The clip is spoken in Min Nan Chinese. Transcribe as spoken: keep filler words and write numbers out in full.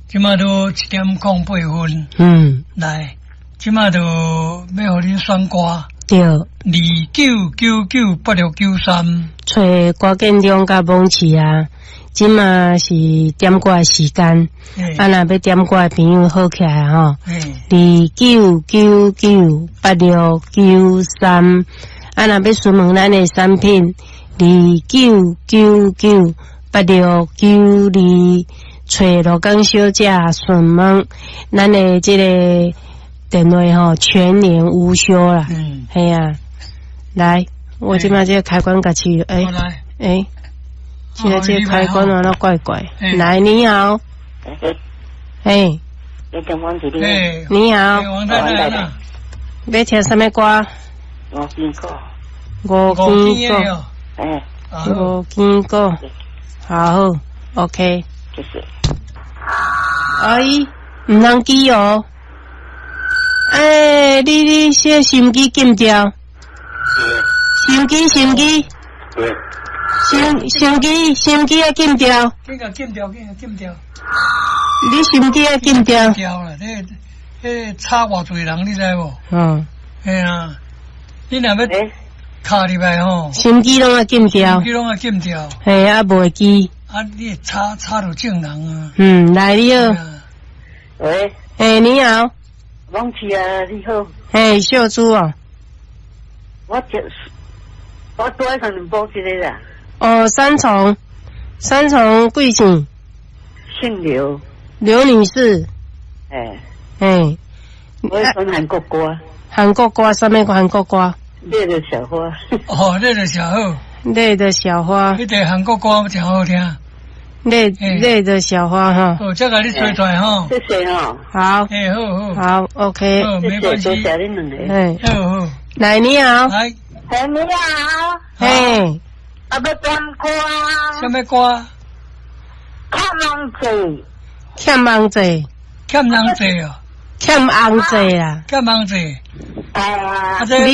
這馬都一點空八分。嗯，來，這馬就欲予恁選歌。對。二九九九八六九三。揣歌建中佮網市啊，這馬是點歌的時間。啊，若欲點歌的朋友好起來吼。二九九九八六九三。啊，若欲詢問咱的產品，二九九九八六九二，揣羅江小姐詢問咱的這個電話吼，全年無休啦。嗯，係啊，來，我這馬這個開關共試，欸欸，這個這個開關按怎怪怪。來，你好。欸，你好。欲聽啥物歌？吳金鼓。吳金鼓。欸。吳金鼓。好，OK。謝謝。哎，毋通記哦。欸，你你這收音機禁掉。收音機，收音機。收收音機，收音機愛禁掉。緊共禁掉，緊共禁掉。你收音機愛禁掉。掉啦，彼彼吵偌濟人，你知無？嗯。嘿啊，你若欲敲入來吼，收音機攏愛禁掉。收音機攏愛禁掉。嘿，啊，袂記。啊，你吵吵著眾人啊。嗯，來你好。喂。欸，你好。王琪啊，你好。嘿，秀珠哦。我這，我拄仔上報這個啦。哦，三重，三重貴姓？姓劉。劉女士。欸。欸。我選韓國歌。韓國歌，啥物韓國歌？烈的小花。哦，烈的小花。烈的小花。彼個韓國歌誠好聽。烈烈的小花哈。哦，這共你揣出來吼。謝謝吼。好。欸，好好。好，OK。好，沒關係。多謝恁兩個。欸。好好。來，你好。來。嘿，你好。嘿。我欲點歌。啥物歌？欠人債。欠人債。欠人債哦。欠紅債啦。欠紅債。啊。你